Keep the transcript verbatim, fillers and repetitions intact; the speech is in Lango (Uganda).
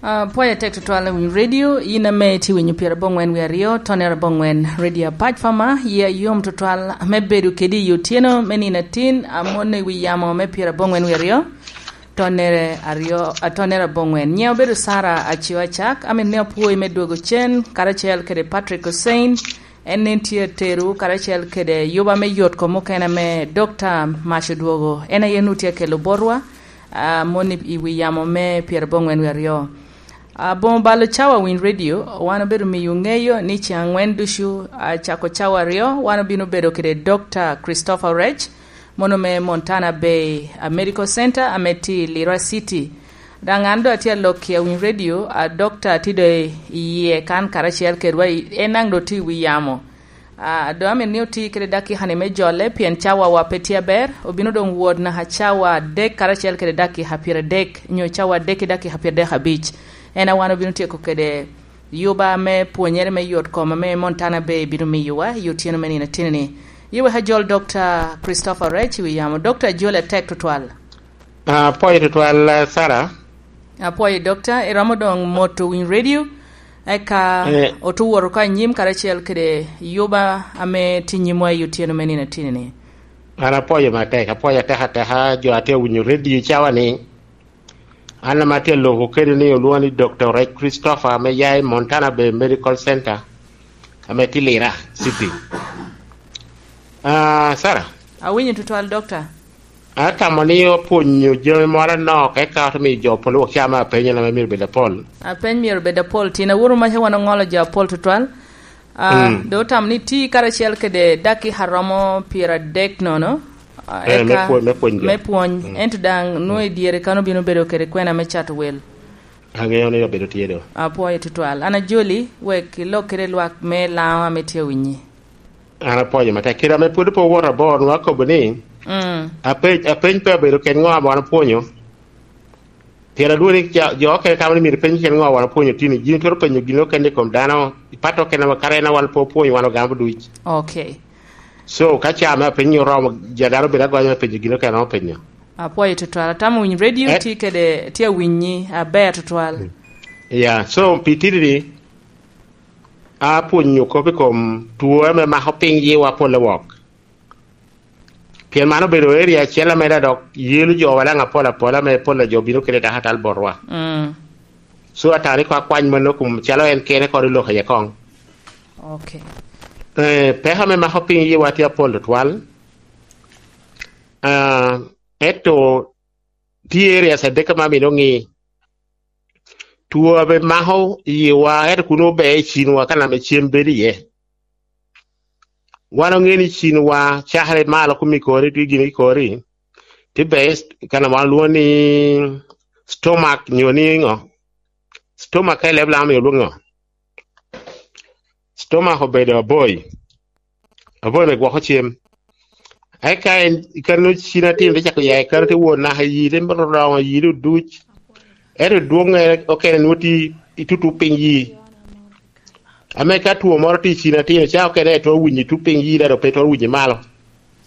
Apwoyo atek tutwal i wi redio, in ame itye winyo pyerabongwen wie aryo, tonere abongwen redio apac pama, ya yom tutwal me bedo kedi i otyeno me nino atin, amon i wi yamo me pyerabongwen wie aryo, tonere aryo, a, tonere abongwen. Nyiŋa obedo Sara Acio Acak, amin ni apwoyi me dwogo cen, karacel kede Patrick Hussein, en nen tye ateru, karacel kede yuba me yot kom mukene ame Dokta Mac odwogo, en aye nu tye akelo botwa, a, moni i wi yamo me pyerabongwen wie aryo. Aboŋo balo cawa winy redio, wan obedo miyo ŋeyo ni ceŋ angwen ducu, a, cako cawa aryo, wan obino bedo kede Dokta Christopher Rech, mono me Montana Bay, a, Medical Center, ame tye i Lira City. Daŋ an doŋ atye alok i awiny redio, a, Dokta tye doŋ i yie kan karacel kedwa, i, en daŋ doŋ tye i wi yamo. A, doŋ amin ni oti kede dakika-ni me jole, pien cawawa pe tye aber, obino doŋ wot naka cawa adek karacel kede dakika pyeradek, nyo cawa adek ki dakika pyeradek abic. En a wan obino tyeko kede yuba me pwonyere me yot kom ame Montana Bay bino miyowa i otyeno me nino atinni. Ye wek ajol Dokta Christopher Rech i wi yamo. Dokta, joli atek tutwal. Apwoyo tutwal, eh, Sara. Apwoyo, Dokta. Iromo doŋ moto winy redio, eka Eh. otu wot oko anyim karacel kede yuba ame tye nyimwa i otyeno me nino atinni. An apwoyo matek, apwoyo atek ateka jo a tye awinyo redio cawa ni. An ame atye aloko kede ni olwoŋo ni Dokta Rech Christopher ame ya i Montana Bay Medical Center, ame tye Lira City. Ah, Sara? Awinyo tutwal, Dokta. Atamo ni opwonyo jami moro anok, eka ote miyo jo pol wok ca me apenyo na myero bed apol. Apeny myero bed apol, tin awuro maca wan oŋolo jo apol tutwal. Ah, Mm. doŋ otamo ni ti karacel kede dakika romo pyeradek nono, ah, Eh, me eka pwony, me pwony jo. me pwony. Mm. Ento daŋ nwoŋo i dyere kan obino bedo kede kwena me cato wel. Aŋeyo ni obedo tye do. Apwoyo tutwal. An ajoli, wek ilok kede lwak me Laŋo ame tye awinyi. An apwoyo matek. Kite ame pwod pe owoto abor, nwa kobo ni, Mm. apeny, apeny pe obedo ken ŋo ame wan opwonyo. Pien adwong ni ja-, jo okene tamo ni myero ipeny ken ŋo wan opwonyo tini. Gin twero penyo gin okene i kom dano, ipato okene wa, kara en a wan pe opwonyo, wan ogamo duc. Okay. So, ka ca me apeny oromo, ja dano bedo agonya me penyo gin okene ame openyo. Apwoyo tutwal. Atamo winyo redio Eh? tye kede, tye awinyi aber tutwal. Ya, so, pi titidi, apwonyo kop i kom two ame mako piny yiwa pol wok. Pien man obedo area acel ame da dok yelo jowa daŋ apol apol ame pol a jo bino kede dakatal botwa. Mm. So, atamo ni ko akwany mano kum calo en kene kore lok aye koŋ. Okay. Eh, peko ame mako piny yiwa tye apol tutwal. Ah, ento tye areas adek ame amito ŋi. Two abe mako yiwa, ento kun obe i cinwa ka name cem bedo iye. Wan oŋe ni cinwa cakere malo kun ikori, tye gin ikori, tye be ka name wan lwongo ni stomach nyo ni ŋo? Stomach ka i leb Laŋo myero olwongo ŋo? Stomach obedo aboyi. Aboyi me gwoko cem. Eka en, i kare-nu cin atin te cako ya i kare te wot naka i yide me romo yide oduc. Ento dwoŋŋe okene nwoŋo tye i tutu piny yi. Ame ka two moro tye i cin atin, ca okene twero winyo i tutu piny yi, dado pe twero winyo malo.